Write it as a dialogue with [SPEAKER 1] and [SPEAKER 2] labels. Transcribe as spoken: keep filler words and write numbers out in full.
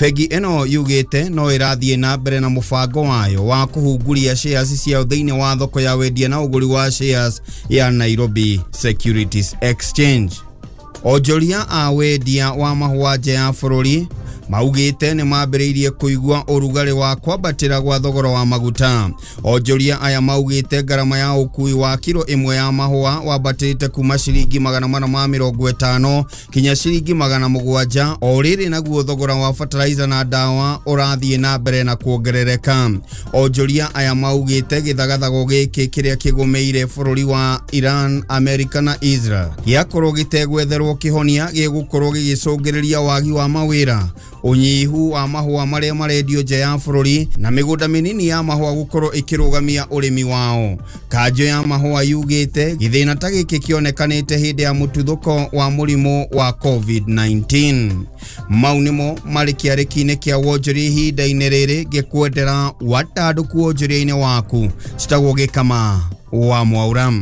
[SPEAKER 1] Bengi ĩno yugĩte no ĩrathiĩ na mbere na mũbango wayo wa kũhunguria shares ciao thĩinĩ wa thoko ya wendia na ũgũri wa shares ya Nairobi Securities Exchange. Onjoria a wendia wa mahũa nja ya bũrũri maugĩte nĩ mambĩrĩirie kũigua ũrugarĩ wa kwambatĩra gwa thogora wa maguta. Onjoria aya maugĩte ngarama ya ũkui wa kiro ĩmwe ya mahũa wambatĩte kuma ciringi magana mana ma mĩrongo ĩtano kinya ciringi magana mũgwanja, o rĩrĩ naguo thogora wa fertilizer na ndawa ũrathiĩ na mbere na kuongerereka. Onjoria aya maugĩte gĩthagathago gĩkĩ kĩrĩa kĩgũmĩire bũrũri wa Iran, Amerika na Israel gĩakorwo gĩtegwetherwo kĩhonia gĩgũkorwo gĩgĩcũngĩrĩria wagi wa mawĩra, unyihu wa mahũa marĩa marendio nja ya bũrũri na mĩgũnda mĩnini ya mahũa gũkorwo ĩkĩrũgamia ũrĩmi wao. Kanjũ ya mahũa yugĩte gĩthĩna ta gĩkĩ kĩonekanĩte hĩndĩ ya mũtuthũko wa mũrimũ wa COVID nineteen. Mau nĩmo marĩ kĩarĩki-inĩ kĩa wonjoria ihinda-inĩ rĩrĩ, ngĩkwendera watandũku wonjoria-inĩ waku. Citagwo Gĩkama wa Mwaura.